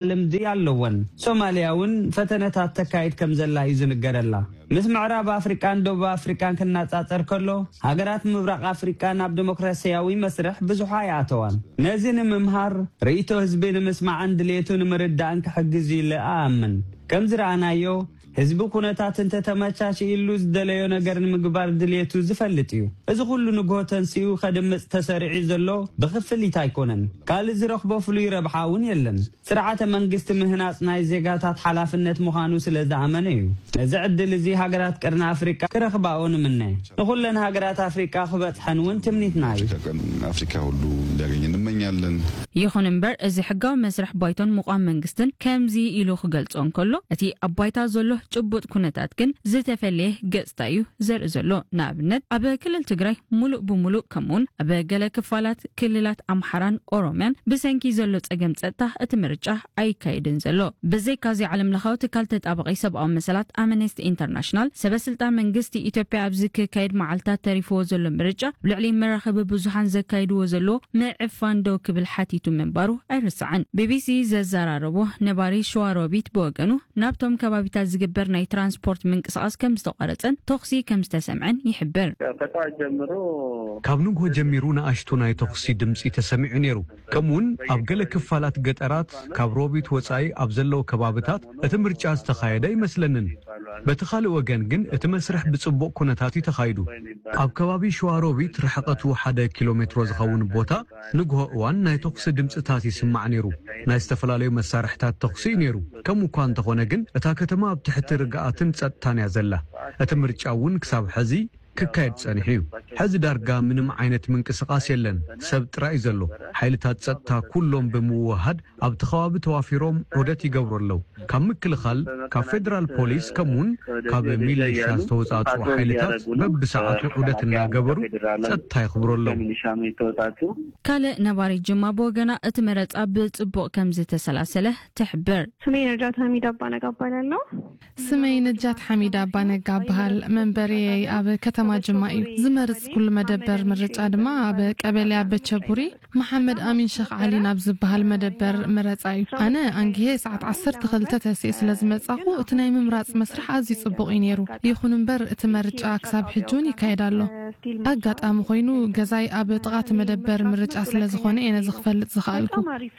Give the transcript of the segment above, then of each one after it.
ልምዲ ኣለወን። ሶማልያ እውን ፈተነታት ተካይድ ከም ዘላ እዩ ዝንገረላ። ምስ ምዕራብ ኣፍሪቃን ደቡብ ኣፍሪቃን ክነጻጸር ከሎ፣ ሃገራት ምብራቕ ኣፍሪቃ ናብ ዲሞክራሲያዊ መስርሕ ብዙሕ ኣይኣተዋን። ነዚ ንምምሃር፣ ርእይቶ ህዝቢ ንምስማዕን ድሌቱ ንምርዳእን ክሕግዝ ኢለ እኣምን። ከም ዝረኣናዮ፣ ህዝቢ ኩነታት እንተተመቻችኢሉ ዝደለዮ ነገር ንምግባር ድሌቱ ዝፈልጥ እዩ። እዚ ኩሉ ንግሆ ተንሲኡ ከድምጽ ተሰሪዑ ዘሎ ብክፍሊት ኣይኮነን። ካልእ ዝረኽቦ ፍሉይ ረብሓ እውን የለን። ስርዓተ መንግስቲ ምህናጽ ናይ ዜጋታት ሓላፍነት ምዃኑ ስለ ዝኣመነ እዩ። ነዚ ዕድል እዚ ሃገራት ቀርኒ ኣፍሪቃ ክረኽባኦ ንምነ። ንኹለን ሃገራት ኣፍሪቃ ክበጽሐን እውን ትምኒትና እዩ። አፍሪካ ቀን አፍሪካ ሁሉ እንዲያገኝ እንመኛለን። ይኹን እምበር፣ እዚ ሕጋዊ መስርሕ ባይቶን ምቋም መንግስትን ከምዚ ኢሉ ክገልጾ እንከሎ፣ እቲ ኣብ ባይታ ዘሎ ጭቡጥ ኩነታት ግን ዝተፈለየ ገጽታ እዩ ዘርኢ ዘሎ። ንኣብነት፣ ኣብ ክልል ትግራይ ሙሉእ ብሙሉእ፣ ከምኡውን ኣብ ገለ ክፋላት ክልላት ኣምሓራን ኦሮምያን ብሰንኪ ዘሎ ጸገም ጸጥታ እቲ ምርጫ ኣይካየድን ዘሎ። ብዘይካዚ፣ ዓለም ለኻዊ ትካል ተጣባቒ ሰብኣዊ መሰላት ኣምነስቲ ኢንተርናሽናል፣ ሰበ ስልጣን መንግስቲ ኢትዮጵያ ኣብዚ ክካየድ መዓልታት ተሪፍዎ ዘሎ ምርጫ ኣብ ልዕሊ መራኸቢ ብዙሓን ዘካይድዎ ዘሎ ምዕፋን ደው ክብል ሓቲቱ ምንባሩ ኣይርስዓን። ቢቢሲ ዘዘራረቦ ነባሪ ሸዋሮቢት ብወገኑ፣ ናብቶም ከባቢታት ዝግበር ናይ ትራንስፖርት ምንቅስቓስ ከም ዝተቋረጸን ተኹሲ ከም ዝተሰምዐን ይሕብር። ከጠዋት ጀምሮ ካብ ንግሆ ጀሚሩ ንኣሽቱ ናይ ተኹሲ ድምጺ ተሰሚዑ ነይሩ። ከምኡውን ኣብ ገለ ክፋላት ገጠራት ካብ ሮቢት ወጻኢ ኣብ ዘለዉ ከባብታት እቲ ምርጫ ዝተኻየደ ኣይመስለንን። በቲ ካልእ ወገን ግን እቲ መስርሕ ብጽቡቕ ኩነታት እዩ ተኻይዱ። ኣብ ከባቢ ሸዋሮቢት ርሕቐቱ ሓደ ኪሎ ሜትሮ ዝኸውን ቦታ ንግሆ እዋን ናይ ተኹሲ ድምጽታት ይስማዕ ነይሩ። ናይ ዝተፈላለዩ መሳርሕታት ተኹሲ እዩ ነይሩ። ከምኡ እኳ እንተኾነ ግን እታ ከተማ ኣብ ትሕቲ ርግኣትን ጸጥታን እያ ዘላ። እቲ ምርጫ እውን ክሳብ ሕዚ ክካየድ ጸኒሑ እዩ። ሕዚ ዳርጋ ምንም ዓይነት ምንቅስቓስ የለን። ሰብ ጥራይ እዩ ዘሎ። ሓይልታት ጸጥታ ኩሎም ብምውሃድ ኣብቲ ከባቢ ተዋፊሮም ዑደት ይገብሩ ኣለዉ። ካብ ምክልኻል፣ ካብ ፌደራል ፖሊስ ከምኡውን ካብ ሚሊሻ ዝተወጻጽኡ ሓይልታት በብሰዓቱ ዑደት እናገበሩ ጸጥታ የኽብሩ ኣለዉ። ካልእ ነባሪት ጅማ ብወገና እቲ መረጻ ብጽቡቕ ከም ዝተሰላሰለ ትሕብር። ስሜ ነጃት ሐሚድ አባነጋ እባላለሁ። ስመይ ነጃት ሓሚድ ኣባነጋ እበሃል። መንበሪየይ ኣብ ከተማ ጅማ እዩ። ዝመርጽ ኩሉ መደበር ምርጫ ድማ ኣብ ቀበሌ ኣበቸቡሪ መሓመድ ኣሚን ሸኽ ዓሊ ናብ ዝበሃል መደበር መረጻ እዩ። ኣነ ኣንጊሄ ሰዓት ዓሰርተ ክልተ ተሲኤ ስለ ዝመጻኹ፣ እቲ ናይ ምምራጽ መስርሕ ኣዝዩ ጽቡቕ እዩ ነይሩ። ይኹን እምበር፣ እቲ መርጫ ክሳብ ሕጂ እውን ይካየድ ኣሎ። ኣጋጣሚ ኮይኑ፣ ገዛይ ኣብ ጥቓ እቲ መደበር ምርጫ ስለ ዝኾነ እየ ነዚ ክፈልጥ ዝኸኣልኩ።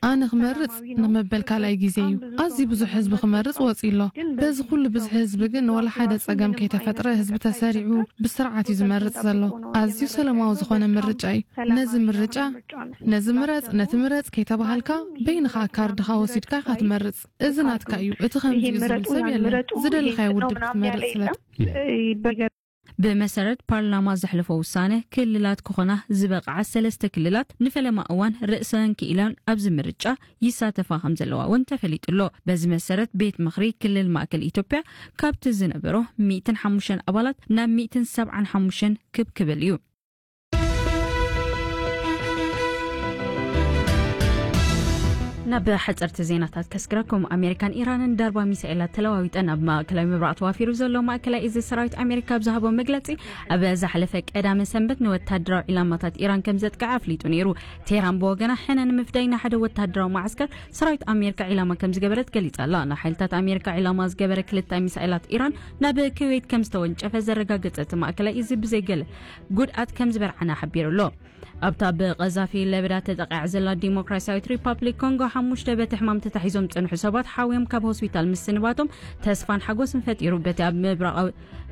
ኣነ ክመርጽ ንመበል ካልኣይ ግዜ እዩ። ኣዝዩ ብዙሕ ህዝቢ ክመርጽ ወጺኡ ኣሎ። በዚ ኩሉ ብዝሒ ህዝቢ ግን፣ ወላ ሓደ ጸገም ከይተፈጥረ፣ ህዝቢ ተሰሪዑ ብስርዓት እዩ ዝመርጽ ዘሎ። ኣዝዩ ሰላማዊ ዝኾነ ምርጫ እዩ። ነዚ ምርጫ፣ ነዚ ምረጽ፣ ነቲ ምረጽ ከይተባሃልካ፣ በይንኻ ካርድኻ ወሲድካ ኢኻ ትመርጽ። እዚ ናትካ እዩ። እቲ ከምዚ እዩ ዝብል ሰብ የለን። ዝደለኻዮ ውድብ ክትመርጽ ስለ ብመሰረት ፓርላማ ዘሕለፎ ውሳነ፣ ክልላት ክኾና ዝበቕዓ ሰለስተ ክልላት ንፈለማ እዋን ርእሰን ክኢለን ኣብዚ ምርጫ ይሳተፋ ከም ዘለዋ እውን ተፈሊጡ ኣሎ። በዚ መሰረት፣ ቤት ምኽሪ ክልል ማእከል ኢትዮጵያ ካብቲ ዝነበሮ ሚእትን ሓሙሽተን ኣባላት ናብ ሚእትን ሰብዓን ሓሙሽተን ክብ ክብል እዩ። ናብ ሓጸርቲ ዜናታት ከስግረኩም። ኣሜሪካን ኢራንን ዳርባ ሚሳኤላት ተለዋዊጠን። ኣብ ማእከላይ ምብራቕ ተዋፊሩ ዘሎ ማእከላይ እዚ ሰራዊት ኣሜሪካ ኣብ ዝሃቦ መግለጺ፣ ኣብ ዝሓለፈ ቀዳመ ሰንበት ንወታደራዊ ዒላማታት ኢራን ከም ዘጥቅዐ ኣፍሊጡ ነይሩ። ቴህራን ብወገና፣ ሕነ ንምፍዳይ ንሓደ ወታደራዊ መዓስከር ሰራዊት ኣሜሪካ ዒላማ ከም ዝገበረት ገሊጻ ኣላ። ንሓይልታት ኣሜሪካ ዒላማ ዝገበረ ክልተ ሚሳኤላት ኢራን ናብ ኩዌት ከም ዝተወንጨፈ ዘረጋገጸ እቲ ማእከላይ እዚ፣ ብዘይገለ ጉድኣት ከም ዝበርዓና ሓቢሩ ኣሎ። ኣብታ ብቐዛፊ ለበዳ ተጠቒዓ ዘላ ዲሞክራሲያዊት ሪፓብሊክ ኮንጎ፣ ሓሙሽተ በቲ ሕማም ተታሒዞም ዝጸንሑ ሰባት ሓውዮም ካብ ሆስፒታል ምስንባቶም ተስፋን ሓጎስን ፈጢሩ። በቲ ኣብ ምብራቓዊ፣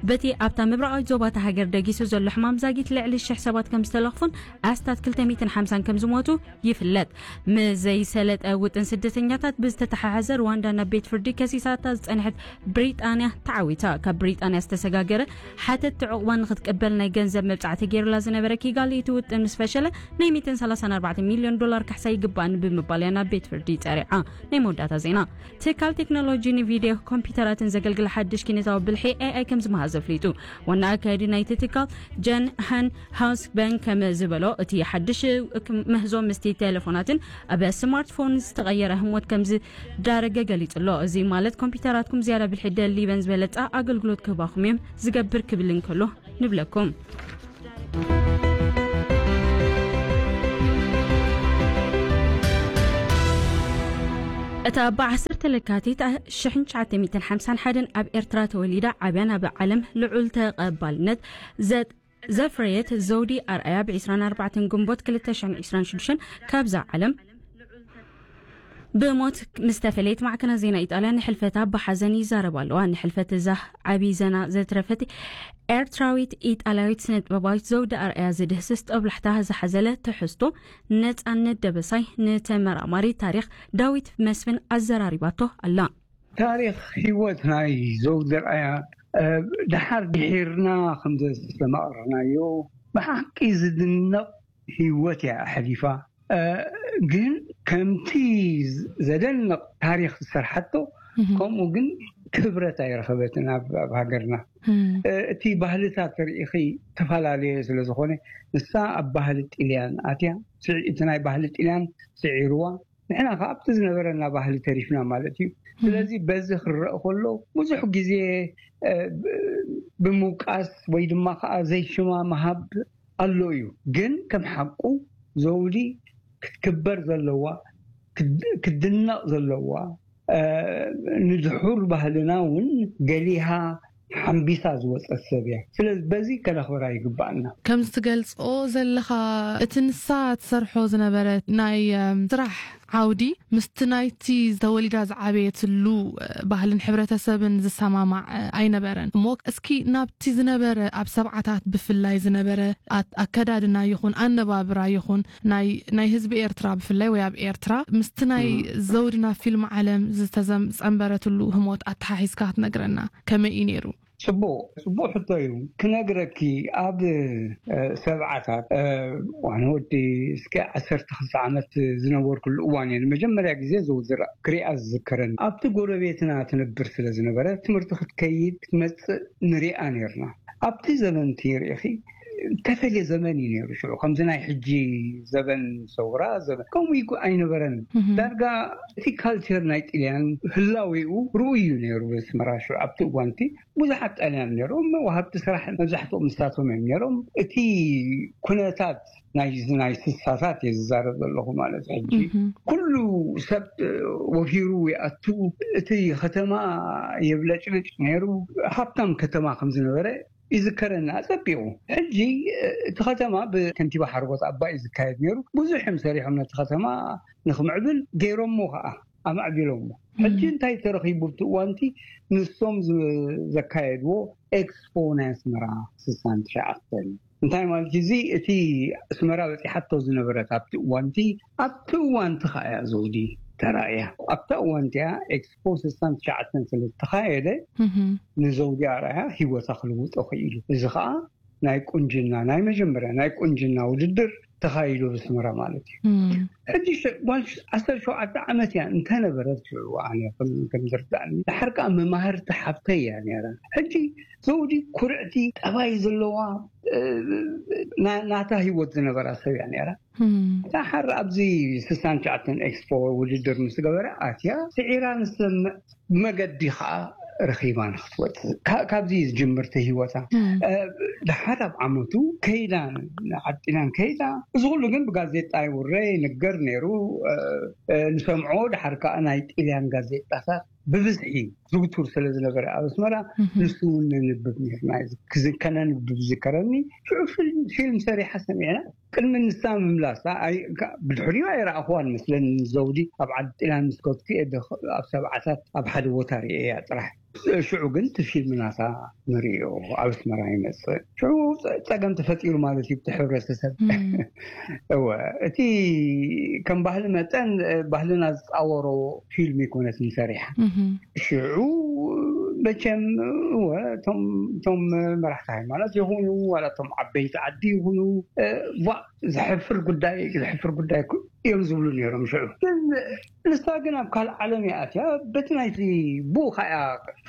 በቲ ኣብታ ምብራቓዊት ዞባ እታ ሃገር ደጊሱ ዘሎ ሕማም ዛጊት ልዕሊ ሽሕ ሰባት ከም ዝተለኽፉን ኣስታት ክልተ ሚእትን ሓምሳን ከም ዝሞቱ ይፍለጥ። ምስ ዘይሰለጠ ውጥን ስደተኛታት ብዝተተሓሓዘ፣ ሩዋንዳ ናብ ቤት ፍርዲ ከሲሳታ ዝጸንሐት ብሪጣንያ ተዓዊታ። ካብ ብሪጣንያ ዝተሰጋገረ ሓተትቲ ዕቑባ ንኽትቅበል ናይ ገንዘብ መብጻዕቲ ገይሩላ ዝነበረ ኪጋሊ፣ እቲ ውጥን ምስ ፈሸለ፣ ናይ ሚእትን ሰላሳን ኣርባዕተ ሚልዮን ዶላር ካሕሳ ይግባእኒ ብምባል እያ ናብ ቤት ፍርዲ ጸሪዓ። ናይ መወዳእታ ዜና። ትካል ቴክኖሎጂ ንቪድዮ ኮምፒውተራትን ዘገልግል ሓድሽ ኪነታዊ ብልሒ ኤ ኣይ ከም ዝመሃዘ ኣፍሊጡ። ዋና ኣካያዲ ናይቲ ትካል ጀን ሃን ሃውስበን ከም ዝበሎ፣ እቲ ሓድሽ ምህዞ ምስቲ ቴሌፎናትን ኣብ ስማርትፎን ዝተቐየረ ህሞት ከም ዝዳረገ ገሊጹ ኣሎ። እዚ ማለት ኮምፒውተራትኩም ዝያዳ ብልሒ ደሊበን ዝበለጸ ኣገልግሎት ክህባኹም እዮም ዝገብር ክብል እንከሎ ንብለኩም። እታ ብ ዓሰርተ ለካቲት ሽሕን ትሽዓተ ሚእትን ሓምሳን ሓደን ኣብ ኤርትራ ተወሊዳ ዓብያን ኣብ ዓለም ልዑል ተቐባልነት ዘ- ዘፍረየት ዘውዲ ኣርኣያ፣ ብ ዕስራን ኣርባዕተን ግንቦት ክልተ ሽሕን ዕስራን ሽዱሽተን ካብዛ ዓለም ብሞት ምስ ተፈለየት፣ ማዕከናት ዜና ኢጣልያ ንሕልፈታ ብሓዘን ይዛረባ ኣለዋ። ንሕልፈት እዛ ዓቢ ዘና ዘትረፈት ኤርትራዊት ኢጣልያዊት ስነ ጥበባዊት ዘውዲ ኣርኣያ ዝድህስስ ጦብላሕታ ዝሓዘለ ትሕዝቶ፣ ነጻነት ደበሳይ ንተመራማሪ ታሪኽ ዳዊት መስፍን ኣዘራሪባቶ ኣላ። ታሪኽ ህይወት ናይ ዘውዲ ኣርኣያ፣ እ፣ ድሓር ድሒርና ከም ዘስተማቕርናዮ፣ ብሓቂ ዝድነቕ ህይወት እያ ኣሕሊፋ። እ፣ ግን ከምቲ ዘደንቕ ታሪኽ ዝሰርሓቶ፣ ከምኡ ግን ክብረት ኣይረኸበትን ኣብ፣ ኣብ ሃገርና። እ፣ እቲ ባህልታት ርኢኺ ተፈላለየ ስለ ዝኾነ፣ ንሳ ኣብ ባህሊ ጥልያን ኣትያ፣ ስዒ-፣ እቲ ናይ ባህሊ ጥልያን ስዒርዋ፣ ንሕና ከኣ ኣብቲ ዝነበረና ባህሊ ተሪፍና ማለት እዩ። ስለዚ በዚ ክረአ ከሎ ብዙሕ ግዜ፣ እ፣ ብ-፣ ብምውቃስ ወይ ድማ ከኣ ዘይሽማ ምሃብ ኣሎ እዩ። ግን ከም ሓቁ ዘውዲ ክትክበር ዘለዋ፣ ክድ-፣ ክድነቕ ዘለዋ፣ እ፣ ንድሑር ባህልና እውን ገሊሃ ሓምቢሳ ዝወጸት ሰብ እያ። ስለዚ በዚ ከነኽብራ ይግባኣና። ከምዚ ትገልጾ ዘለኻ፣ እቲ ንሳ ትሰርሖ ዝነበረ ናይ፣ እም፣ ስራሕ ዓውዲ ምስቲ ናይቲ ተወሊዳ ዝዓበየትሉ፣ እ፣ ባህልን ሕብረተሰብን ዝሰማማዕ፣ እ፣ ኣይነበረን። እሞ እስኪ ናብቲ ዝነበረ፣ ኣብ ሰብዓታት ብፍላይ ዝነበረ ኣት-፣ ኣከዳድና ይኹን ኣነባብራ ይኹን ናይ፣ ናይ ህዝቢ ኤርትራ ብፍላይ ወይ ኣብ ኤርትራ ምስቲ ናይ ዘውድና ፊልም ዓለም ዝተዘም-፣ ጸንበረትሉ ህሞት ኣተሓሒዝካ ክትነግረና ከመይ እዩ ነይሩ? ጽቡቕ፣ ጽቡቕ ሕቶ እዩ። ክነግረኪ፣ ኣብ፣ እ፣ ሰብዓታት፣ እ፣ ዋን ወዲ እስከ ዓሰርተ ክልተ ዓመት ዝነበርኩሉ እዋን እየ ንመጀመርያ ግዜ ዘውድራ ክሪኣ ዝዝከረኒ። ኣብቲ ጎረቤትና ትነብር ስለ ዝነበረ፣ ትምህርቲ ክትከይድ ክትመጽእ ንሪኣ ነርና። ኣብቲ ዘመን እቲ ርኢኺ፣ ተፈልየ ዘመን እዩ ነይሩ ሽዑ። ከምዚ ናይ ሕጂ ዘበን ሰውራ፣ ዘበን ከምኡ ይጉ-፣ ኣይነበረን። ዳርጋ እቲ ካልቸር ናይ ጥልያን ህላዌኡ ርኡይ እዩ ነይሩ በስመራ ሽዑ። ኣብቲ እዋንቲ ብዙሓት ጣልያን ነይሮም፣ ወሃብቲ ስራሕ መብዛሕትኦም ንሳቶም እዮም ነይሮም። እቲ ኩነታት ናይ፣ ናይ ስሳታት እየ ዝዛረብ ዘለኹ ማለት እዩ። ሕጂ ኩሉ ሰብ ወፊሩ ይኣቱ፣ እቲ ከተማ የብለጭልጭ ነይሩ። ሃብታም ከተማ ከም ዝነበረ ይዝከረኒ ኣጸቢቑ። ሕጂ፣ እ፣ እቲ ከተማ ብከንቲባ ሓርጎት ኣባይ እዩ ዝካየድ ነይሩ። ብዙሕ እዮም ሰሪሖም ነቲ ከተማ ንኽምዕብል፣ ገይሮሞ ኸኣ፣ ኣማዕቢሎሞ። ሕጂ እንታይ ተረኺቡ ኣብቲ እዋንቲ? ንሶም ዝ-፣ ዘካየድዎ ኤክስፖ ናይ ኣስመራ ስሳን ትሽዓተን። እንታይ ማለት እዩ? እዚ እቲ ኣስመራ በጺሓቶ ዝነበረት ኣብቲ እዋንቲ፣ ኣብቲ እዋንቲ ኸኣ እያ ዘውዲ ተራእያ። ኣብታ እዋንቲ እያ ኤክስፖ ስሳን ትሽዓተን ስለ ዝተኻየደ፣ ንዘውዲ ኣርኣያ ህይወታ ክልውጦ ክኢሉ። እዚ ኸኣ ናይ ቁንጅና፣ ናይ መጀመርያ ናይ ቁንጅና ውድድር ተኻይዱ ብስመራ ማለት እዩ። ሕጂ ሸ-፣ ጓል ሽ-፣ ዓሰርተ ሸውዓተ ዓመት እያ እንተነበረት ሽዑ፣ ኣነ ከም፣ ከም ዝርዳእኒ፣ ድሓር ከኣ መማህርቲ ሓብተይ እያ ነይራ። ሕጂ ዘውዲ ኩርዕቲ ጠባይ ዘለዋ፣ እ፣ ና-፣ ናታ ህይወት ዝነበራ ሰብ እያ ነይራ። ድሓር ኣብዚ ስሳን ትሽዓተን ኤክስፖ ውድድር ምስ ገበረ ኣትያ፣ ስዒራ ንሰምዕ፣ ብመገዲ ኸኣ ረኺባ ንኽትወጽእ። ካ-፣ ካብዚ እዩ ዝጅምር እቲ ህይወታ። እ፣ ድሓር ኣብ ዓመቱ ከይዳ፣ ዓጢናን ከይዳ። እዚ ኩሉ ግን ብጋዜጣ ይውረ፣ ይንገር ነይሩ። እ፣ እ፣ ንሰምዖ፣ ድሓር ከኣ ናይ ጥልያን ጋዜጣታት ብብዝሒ ዝውቱር ስለ ዝነበረ ኣብ ኣስመራ፣ ንሱ እውን ነንብብ ነርና። እዚ ክዝ-፣ ከነንብብ ዝከረኒ፣ ሽዑ ፊልም፣ ፊልም ሰሪሓ ሰሚዕና። ቅድሚ ንሳ ምምላሳ፣ ኣይ-፣ ካ-፣ ብድሕሪኡ ኣይረኣኽዋን መስለኒ። ዘውዲ ኣብ ዓዲ ጥልያን ምስ ከድኩ እየ፣ ደኽ-፣ ኣብ ሰብዓታት ኣብ ሓደ ቦታ ርእየያ ጥራሕ። ሽዑ ግን እቲ ፊልም ናታ ንርእዮ ኣብ ኣስመራ ይመጽእ። ሽዑ ጸ-፣ ጸገም ተፈጢሩ ማለት እዩ፣ እቲ ሕብረተሰብ። እወ፣ እቲ ከም ባህሊ መጠን፣ እ፣ ባህልና ዝጻወሮ ፊልም ይኮነትን ሰሪሓ። ሽዑ መቸም፣ እወ፣ እቶም፣ እቶም መራሕቲ ሃይማኖት ይኹኑ፣ ዋላ እቶም ዓበይቲ ዓዲ ይኹኑ፣ እ፣ ዋ፣ ዘሕፍር ጉዳይ፣ ዘሕፍር ጉዳይ እኮ እዮም ዝብሉ ነይሮም ሽዑ። ግን ንሳ ግን ኣብ ካልእ ዓለም እያ ኣትያ። በቲ ናይቲ ብኡ ከኣ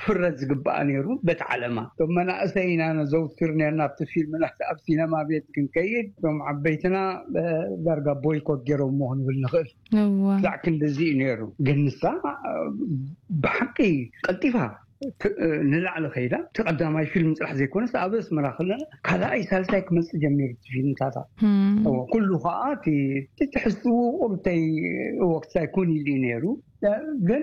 ፍረድ ዝግባኣ ነይሩ፣ በቲ ዓለማ። እቶም መናእሰይ ኢና ነዘውትር ነርና ኣብቲ ፊልምና፣ ኣብ ሲነማ ቤት ክንከይድ፣ እቶም ዓበይትና፣ እ፣ ዳርጋ ቦይኮት ገይሮምዎ ክንብል ንኽእል። እዋ። ክሳዕ ክንድዚ እዩ ነይሩ። ግን ንሳ፣ እ፣ ብሓቂ ቀልጢፋ ንላዕሊ ከይዳ፣ እቲ ቀዳማይ ፊልም ጥራሕ ዘይኮነስ ኣብ ኣስመራ ከለና ካልኣይ ሳልሳይ ክመፅእ ጀሚሩ እቲ ፊልምታታ። እዎ፣ ኩሉ ከዓ እቲ እቲ ትሕዝትኡ ቁሩብተይ እወ ክሳይ ኮን ኢሉ እዩ ነይሩ። ግን